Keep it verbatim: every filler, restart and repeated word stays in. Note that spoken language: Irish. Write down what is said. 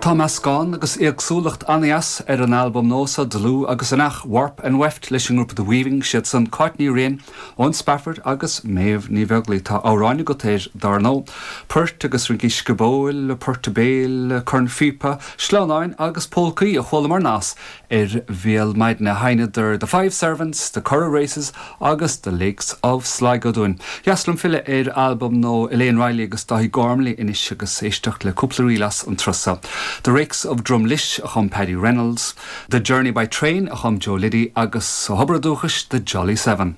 Tá meascán agus éagsúlacht an-deas ar an albam nua seo dlúth agus an ach Warp and Weft leis an ngrúpa The Weaving siad san Cáit Ní Riain ón Spafford agus Méabh Ní Bheaglaoich tá amhráin agat air dar ndóigh. Poirt agus rincí sciobóil, poirt béil, cornphíopa, sleamhnáin agus polcaí a chualamar nas ar Bhéal Maidine sheinneadar The Five Servants, The Curragh Races agus The Lakes of Sligo dúinn. Dheas liom filleadh ar albam nua Elaine Riley agus Dáithí Gormley anois agus éisteacht le cúpla ríl as an turas seo. The Rakes of Drumlish a chum Paddy Reynolds, The Journey by Train a chum Joe Liddy agus ó thobar dúchais The Jolly Seven.